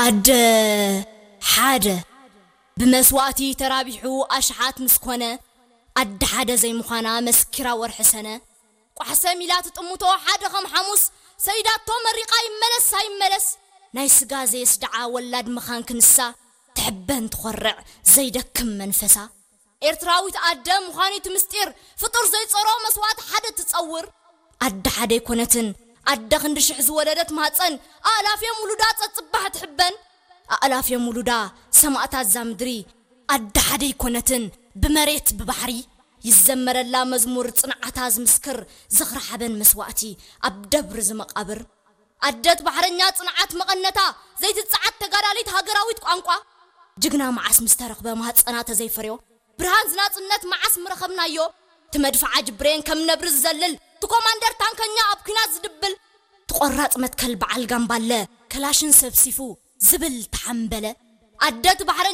ኣደ ሓደ ብመስዋእቲ ተራቢሑ ኣሽሓት ምስ ኮነ፣ ኣደ ሓደ ዘይምዃና መስኪራ ወርሒ ሰነ። ቋሕሰም ኢላ ትጥምቶ ሓደ ከም ሓሙስ፣ ሰይዳቶ መሪቓ ይመለስ ኣይመለስ፣ ናይ ስጋ ዘየስድዓ ወላድ ምዃን ክንሳ ትሕበን ትኾርዕ ዘይደክም መንፈሳ። ኤርትራዊት ኣደ ምዃኑ እቲ ምስጢር፣ ፍጡር ዘይጸሮ መስዋእቲ ሓደ ትጸውር። ኣደ ሓደ ኣይኮነትን፣ ኣደ ክንዲ ሽሕ ዝወለደት ማህጸን፣ ኣእላፍ እዮም ውሉዳ ጸጽባሕ ትሕበን። ኣእላፍ እዮም ውሉዳ ሰማእታት እዛ ምድሪ። ኣደ ሓደ ኣይኮነትን፣ ብመሬት ብባሕሪ ይዘመረላ መዝሙር ጽንዓታ ዝምስክር፣ ዝኽሪ ሓበን መስዋእቲ ኣብ ደብሪ ዝመቓብር። ኣደት ባሕረኛ ጽንዓት መቐነታ፣ ዘይትጽዓት ተጋዳሊት ሃገራዊት ቋንቋ። ጅግና መዓስ ምስ ተረኽበ ማህጸና ተዘይፈርዮ፣ ብርሃን ዝናጽነት መዓስ ምረኸብናዮ። ትመድፍዓ ጅብሬን ከም ነብሪ ዝዘልል፣ ትኮማንደር ታንከኛ ኣብ ኲናት ዝድብል፣ ትቆራጽ መትከል በዓል ጋምባለ፣ ከላሽን ሰብሲፉ ዝብል ተሓምበለ። ኣደት ባሕረኛ